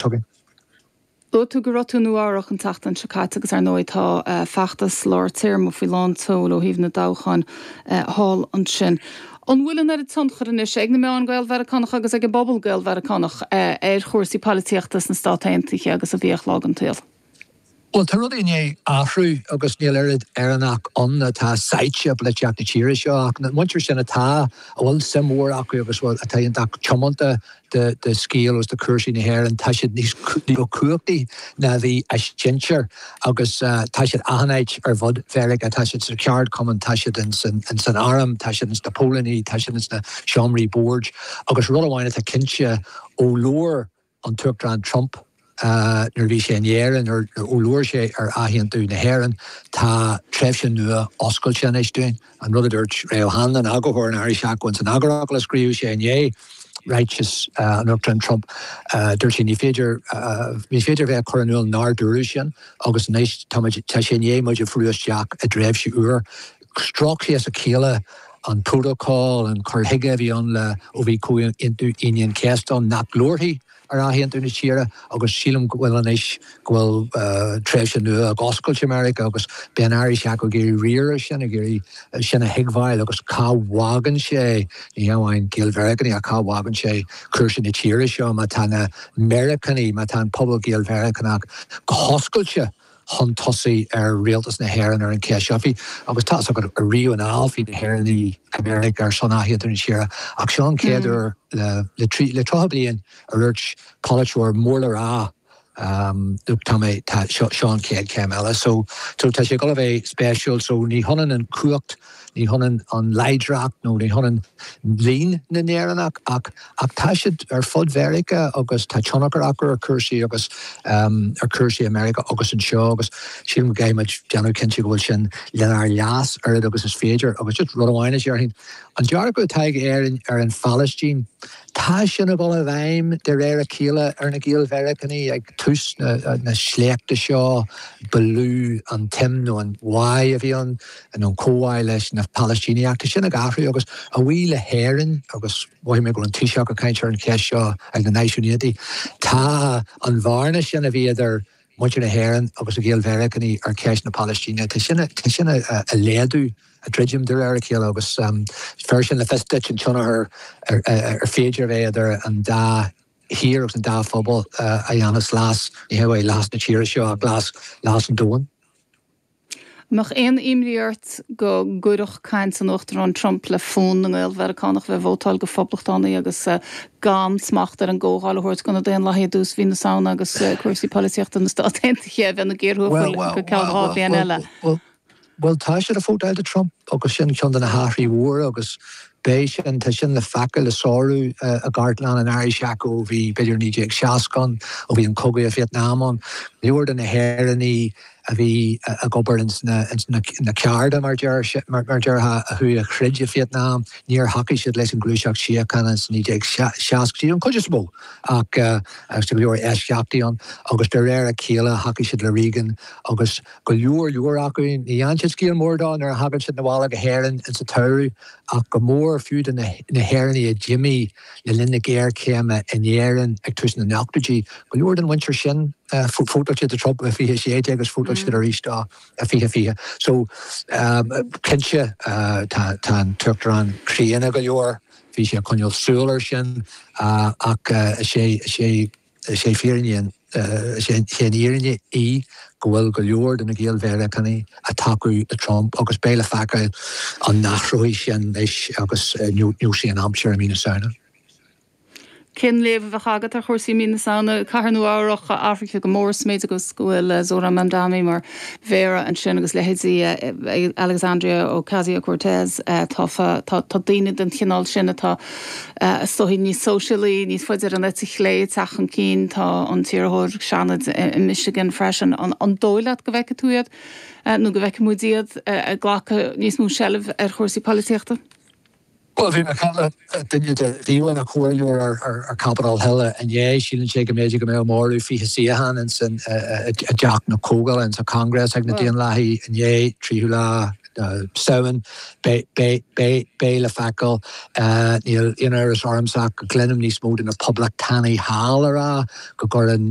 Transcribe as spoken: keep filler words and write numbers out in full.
Chugainn. Luaigh tú go raibh tú i Nua-Eabhrac an tseachtain seo caite agus ar ndóigh tá feachtas lár téarma faoi lán tseoil ó thaobh na dtoghchán thall ansin. An bhfuil an oiread tionchar anois ag na meáin Gael-Mheiriceánacha agus ag an bpobal Gael-Mheiriceánach ar chúrsaí polaitíochta sna Stáit Aontaithe agus a bhíodh lá den tsaol? Bhuel, tá rudaí i ndiaidh athrú agus níl oiread Éireannach ann atá sáite i bpolaitíocht na tíre seo ach na muintir sin atá, a bhfuil suim mhór acu agus atá iontach tiomanta do do scéal agus do chúrsaí na hÉireann, tá siad níos cumhachtaí ná a bhí a sinsir agus tá siad achan áit ar fud Mheiriceá, tá siad sa cheardchumann, tá siad ins an arm, tá siad ins na póilíní, tá siad ins na seomraí boird agus rud amháin atá cinnte ó labhair an tUachtarán Trump nuair a bhí sé in Éirinn, ó labhair sé ar athaontú na hÉireann, tá tréimhse nua oscailte anois dúinn. An rud a dúirt Ray O'Hanlon, eagarthóir an Irish Echo ins an eagarfhocal a scríobh sé i ndiaidh ráiteas an Uachtaráin Trump, dúirt sé ní féidir ní féidir bheith ag cur in iúl nár dúradh sin agus anois tá muid tá sé i ndiaidh muid a bhrú isteach i dtréimhse úr. Sroich sé as a chéile an prótacal, an cur chuige a bhí ann le ó bhí Comhaontú Aoine an Chéasta ann nach labharfaí ar athaontú na tíre agus sílim go bhfuil anois go bhfuil tréimhse nua ag oscailt i Meiriceá agus beidh an Irish Echo ag iarraidh riar air sin, ag iarraidh sin a thuigbheáil agus cá bhfágann sé, ní hamháin Gael-Mheiriceánaigh ach cá bhfágann sé cúrsaí na tíre seo má tá na Meiriceánaigh, má tá an pobal Gael-Mheiriceánach go hoscailte chun tosaigh ar rialtas na hÉireann ar an cheist seo. Bhí, agus tá fhios agat, ariamh anall bhí na hÉireannaigh i Meiriceá ar son athaontú na tíre ach seo an chéad uair le le trí le tríocha bliain a dúirt polaiteoir mór le rá look tá mé tá seo seo an chéad chéim eile. So so tá sé ag dul a bheith spéisiúil so ní hionann an cumhacht Ní hionann an láidreacht nó ní hionann líon na nÉireannach ach ach tá siad ar fud Mheiriceá agus tá tionchar acu ar chúrsaí agus ar chúrsaí i Meiriceá agus anseo agus sílim go gcaithfidh muid déanamh cinnte go bhfuil sin lenár leas oiread agus is féidir. Agus just rud amháin a déarfainn, an dearcadh atá ag Éirinn ar an Phalaistín, Tá sin ag dul i bhfeidhm de réir a chéile ar na Gael-Mheiriceánaigh. Ag tús na sléachta seo, ba lú an tsuim nó an bhá a bhí ann, nó an comhbhá leis na Palaistínigh. Ach tá sin ag athrú agus a bhuí le hÉirinn, agus mhothaigh mé go raibh an Taoiseach ag caint ar an cheist seo ag na Náisiúin Aontaithe, tá an bhearna sin a bhí idir muintir na hÉireann agus na Gael-Mheiriceánaigh ar cheist na Palaistíne, tá sin sin ag laghdú, ag druidim de réir a chéile agus bheir sin le fios duit an tionchar ar féidir a bheith idir an dá thír agus an dá phobal a dhéanfas leas, ní hamháin leas na tíre seo ach leas leas an domhain. An mbeadh aon imní ort go gcuirfeadh caint an Uachtaráin Trump le fonn na nGael-Mheiriceánach bheith ag vótáil go Phoblachtánaigh agus gan smacht ar an gComhdháil a thabhairt do na Daonlathaigh i dtús mhí na Samhna agus cúrsaí polaitíochta na Stát Aontaithe a bheith ina gcíor thuathail go ceann dhá bhliain eile? Bhuel, tá siad ag vótáil do Trump agus sin ceann de na hathruithe mhóra agus beidh sin, tá sin le feiceáil, le sárú i gcartlann an Irish Echo ó bhí b'fhéidir naoi déag seasca ann, ó bhí an cogadh i Vietnam ann. Go leor de na hÉireannaigh a bhí ag obair ins na cearda, mar déarfá, a chuaigh a throid i Vietnam, níor thacaigh siad leis an ghluaiseacht síochána ins naoi déag seascaidí, an chuid is mó, ach tá go leor eisceachtaí ann, agus de réir a chéile thacaigh siad le Reagan agus go leor leor acu, ní dhearna siad scéal mór dó nuair a thagann siad 'na bhaile go hÉirinn ins an tsamhradh, ach go mór fiú de na hÉireannaigh a d'imigh le linn na géarchéime in Éirinn ag tús na n-ochtóidí, go leor den mhuintir sin, vótáil siad do Trump i fiche sé déag agus vótáil siad arís dó i fiche fiche. So, cinnte, tá an tUachtarán críonna go leor, bhí sé ag coinneáil súil air sin, ach is é, is é, is é fírinne an, is é an fhírinne í go bhfuil go leor de na Gael-Mheiriceánaigh ag tacú le Trump agus beidh le feiceáil an n-athróidh sin anois agus neosfaidh an aimsir i mí na Samhna. Cén léamh a bheadh agat ar chúrsaí mí na Samhna? Cathair Nua Eabhrac athraithe go mór sa méid agus go bhfuil Zohran Mamdani mar mhéara ansin agus leithéidí Alexandria Ocasio-Cortez tofa. Tá daoine den chineál sin atá is dóigh níos sóisialaí, níos faide ar an eite chlé ag teacht chun cinn. Tá an t-iarrthóir Seanaid i Michigan freisin. An dóigh leat go bhfeicfidh tú iad nó go bhfeicfidh muid iad ag glacadh níos mó seilbh ar chúrsaí polaitíochta? Bhuel, bhí mé ag caint le duine de bhí ina chomhairleoir ar Capitol Hill inné. Síleann sé go mb'fhéidir go mbeadh móramh fiche suíochán ins an i dTeach na Comhdhála, ins an Congress ag na Daonlathaigh inné, tríú lá Samhain beidh le feiceáil níl aon amhras ormsa go gcluinim níos mó de na poblachtánaigh thall ag rá go gcuireann